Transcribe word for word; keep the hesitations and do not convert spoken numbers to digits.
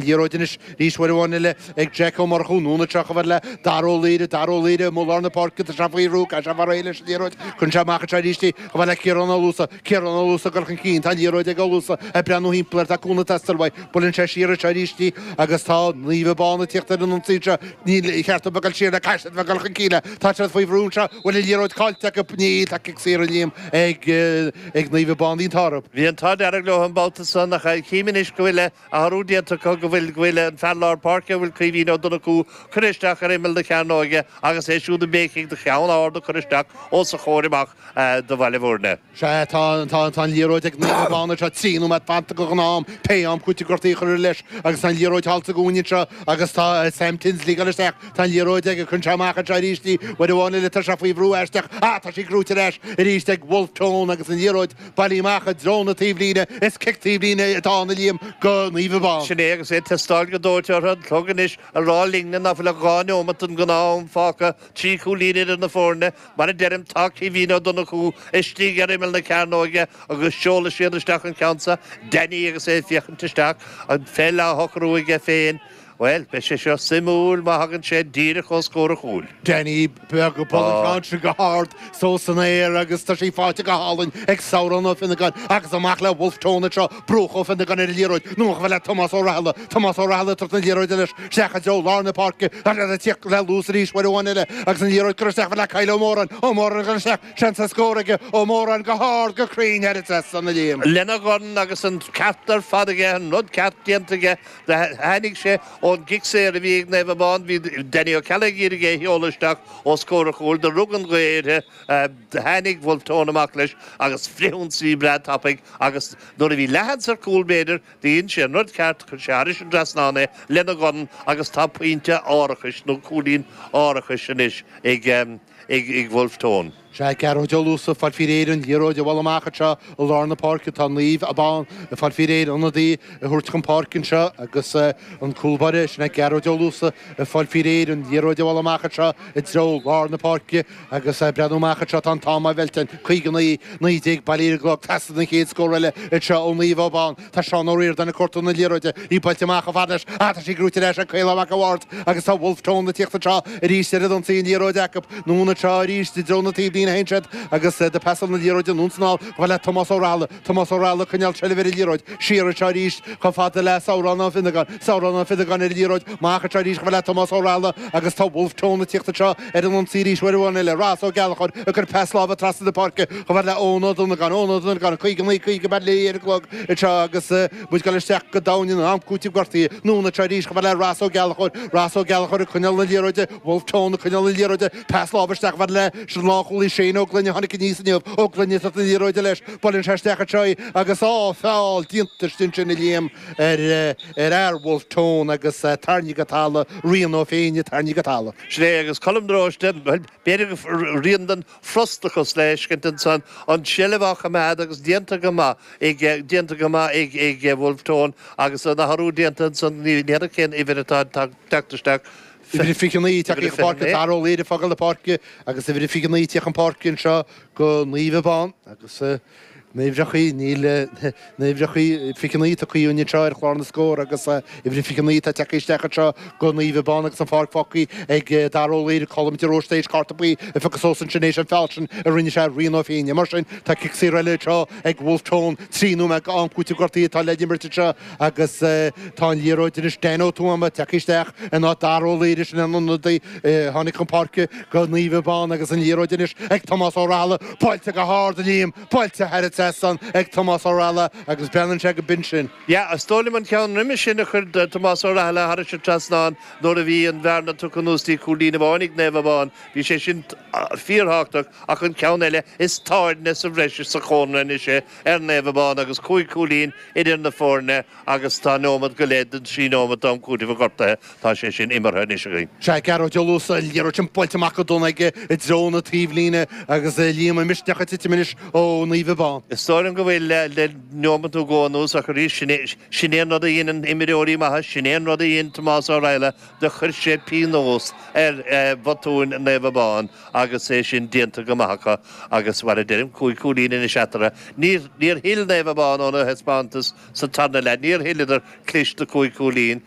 Liathróid anois arís uair amháin eile ag Jack Ó Murchú, anonn anseo chomh fada le Dara Ó Laoire, Dara Ó Laoire amuigh lár na páirce, tá sé faoi bhrú, caithfidh sé fáil réidh leis an liathróid, cuireann sé amach anseo arís í chomh fada le Ciarán Ó Luasa, Ciarán Ó Luasa ag dul chun cinn, tá an liathróid ag Ó Luasa ag breathnú thimpeall air, tá cúnamh ag teastáil uaidh, buaileann sé siar anseo arís í agus tá Naomh Abán ag tíocht ar an ionsaí anseo, níor cheart dóibh a dhul siar le, caithfidh siad a bheith ag dul chun cinn le, tá siad faoi bhrú anseo, bhfuil an liathróid caillte acu, níl, tá cic saor a Liam ag ag Naomh Abán, bhí an t-ádh orthu. Bhí an t-ádh dearg leo an babhta san ach chím anois go bhfuil athrú déanta acu, go bhfuil go bhfuil an fear lár páirce, a bhfuil Caoimhín Ó Donnchú, curtha isteach ar imeall na cearnóige agus é siúd ag béicigh do cheann ard a chur isteach os a chomhair amach do Bhaile Bhúirne. Sea, tá tá tá an liathróid ag Naomh Abán anseo, trí nóiméad fanta go ghnáth-am, pé am cúiteamh gortaithe a chur leis agus tá an liathróid thall sa gcúinne anseo agus tá Sam Tinsley ag dul isteach, tá an liathróid aige, cuireann sé amach anseo arís í, uair amháin eile tá sé faoi bhrú aisteach, ah tá sí gnóite ar ais arís ag Wolfe Tone agus an liathróid bailithe amach i dtreo na taobhlíne, is cic taobhlíne atá ann a Liam go Naomh Abán. Sin é agus é ag teastáil go dóite orthu, an clog anois ag rá linne ná fuil ach dhá neomat den ghnáth-am fágtha, trí chúilín idir na foirne. Mar a deirim, tá Caoimhín Ó Donnchú istigh ar imeall na cearnóige agus seolfaidh siad isteach an ceann seo, Danny agus é ag féachaint isteach, an pheil á shocrú aige féin. Bhuel, beidh sé seo suimiúil má thagann sé díreach os comhair an chúil. Danny beag ag bualadh an ceann sin go hard suas san aer agus tá sí faighte go hálainn ag Samhrán Ó Fionnagáin agus amach le Wolfe Tone anseo, Brúch Ó Fionnagáin ar an liathróid, anonn chomh fada le Tomás Ó Rathaille, Tomás Ó Rathaille ag tabhairt na liathróide leis isteach i dtreo lár na páirce, tá sé ag tíocht le luas arís uair amháin eile agus an liathróid curtha isteach chomh fada le Kyle Ó Móráin, Ó Móráin ag dul isteach, seans ar scór aige, Ó Móráin go hard go cruinn thar an trasnán a Liam. Lena dhorn agus an ceart ar fad aige, an rud ceart déanta aige. Tháinig sé ón gcic saor a bhí ag Naomh Abán. Bhí Danny Ó Ceallaigh ag iarraidh é a sheoladh isteach os comhair an chúil. Do rug an ghaoth uirthi. Tháinig Wolfe Tone amach leis agus frithionsaí breá tapaidh agus nuair a bhí leathsheans ar chúl b'fhéidir, dhein sé an rud ceart, chuir sé thairis an dtrasnán é lena dhorn agus tá pointe árachais nó cúilín árachais anois ag ag Wolfe Tone. Sea, Gearóid Ó Luasa, ag fáil faoi réir an liathróid a bhualadh amach anseo i lár na páirce. Tá Naomh Abán ag fáil faoi réir ionadaí a thabhairt chun páirce anseo agus an cúl báire, sin é Gearóid Ó Luasa, ag fáil faoi réir an liathróid a bhualadh amach anseo i dtreo lár na páirce agus ag breathnú amach anseo tá an t-am á mheilt, caoga naoi, naoi déag bailithe ar an gclog. Teastaíonn an chéad scór eile anseo ó Naomh Abán. Tá Seán Ó Ríordáin ag cuartú na liathróide, í buailte amach chomh fada leis, ach tá sí gnóite ar ais ag Caolán Mac a' Bhaird agus tá Wolfe Tone ag tíocht anseo arís ar an ionsaí, an liathróid acu. Anonn anseo arís i dtreo na taobhlíne a théann siad agus do phasáil na liathróide anonn is anall chomh fada le Tomás Ó Rathaille. Tomás Ó Rathaille ag coinneáil seilbh ar an liathróid. Siar anseo arís chomh fada le Samhrán Ó Fionnagáin. Samhrán Ó Fionnagáin ar an liathróid. Amach anseo arís chomh fada le Tomás Ó Rathaille agus tá Wolfe Tone ag tíocht anseo ar an ionsaí arís uair amháin eile. Ross Ó Gallchóir ag cur pas láimhe trasna na páirce chomh fada le Eoin Ó Donnagáin. Eoin Ó Donnagáin, caoga naoi, caoga bailithe ar an gclog anseo agus muid ag dul isteach go domhain in am cúitimh gortaithe. Anonn anseo arís chomh fada le Ross Ó Gallchóir. Ross Ó Gallchóir ag coinneáil na liathróide. Wolfe Tone ag coinneáil na liathróide, pas láimhe isteach chomh fada le sin lánchúlaí Shane Ó Gloine a tháinig aníos inniu. Ó Gloine ag tabhairt na liathróide leis, buaileann sé isteach anseo í agus á, feall déanta istigh ansin a Liam ar ar fhear Wolfe Tone agus tarraingthe go talamh, Rian Ó Féinne tarraingthe go talamh. Sin é agus Colm de Róiste, bhuel, b'fhéidir go rian den fhrustachas le feiscint ansan, an tseilbh á choimeád agus déanta go maith ag, déanta go maith ag, ag Wolfe Tone agus an athrú déanta ansan, ní n'fheadar cén uimhir atá ag teacht isteach. Uimhir a fiche naoi tagtha chun páirce, Dara Ó Laoire ag fágáil na páirce agus uimhir a fiche naoi ag tíocht chun páirce anseo go Naomh Abán agus na huimhreachaí, níl na huimhreachaí fiche naoi tugtha dhúinn anseo ar chlár na scór agus uimhir a fiche naoi atá tagtha isteach anseo go Naomh Abán agus an pháirc fágtha ag Dara Ó Laoire, Colm de Róiste théis cárta buí a phiocadh suas ansin théis an feall sin a rinne sé ar Rian Ó Féinne. Mar sin tá cic saor eile anseo ag Wolfe Tone, trí nóiméad go am cúitimh gortaithe atá le imirt anseo Agus tá an liathróid anois Dan Ó Tuama tagtha isteach in áit Dara Ó Laoire, sin an ionadaí a tháinig chun páirce go Naomh Abán agus an liathróid anois ag Tomás Ó Rathaille, buailte go hard a Liam, buailte thar an trasnán ag Tomás Ó Rathaille agus breathnaíonn sé go binn sin. Yeah, is dóigh liom an ceann roimhe sin a chuir Tomás Ó Rathaille thairis an trasnán nuair a bhí an bhearna tugtha anuas dtí cúilín amháin ag Naomh Abán, bhí sé sin fíorthábhachtach ach an ceann eile is tairne sa bhreis sa chónra anois é ar Naomh Abán agus cúig chúilín idir na foirne agus tá nóimeat go leith den trí nóimeat d'am cúitimh an ghortaithe, tá sé sin imeartha anois againn. Sea, Gearóid Ó Luasa, an liathróid sin buailte amach go dona aige i dtreo na taobhlíne agus Liam an misneach ag titim anois ó Naomh Abán. Is dóigh liom go bhfuil le neomat nó dhó anuas ach arís sin é an rud a dhéanann imreoirí maithe, sin é an rud a dhein Tomás Ó Raghallaigh do chuir sé pionós ar bhotúin Naomh Abán agus é sin déanta go maith acu agus mar a deirim cúig cúilín anois eatarthu. Níor níor thuill Naomh Abán óna thaispeántas sa tarna leath, níor thuilleadar clist de cúig cúilín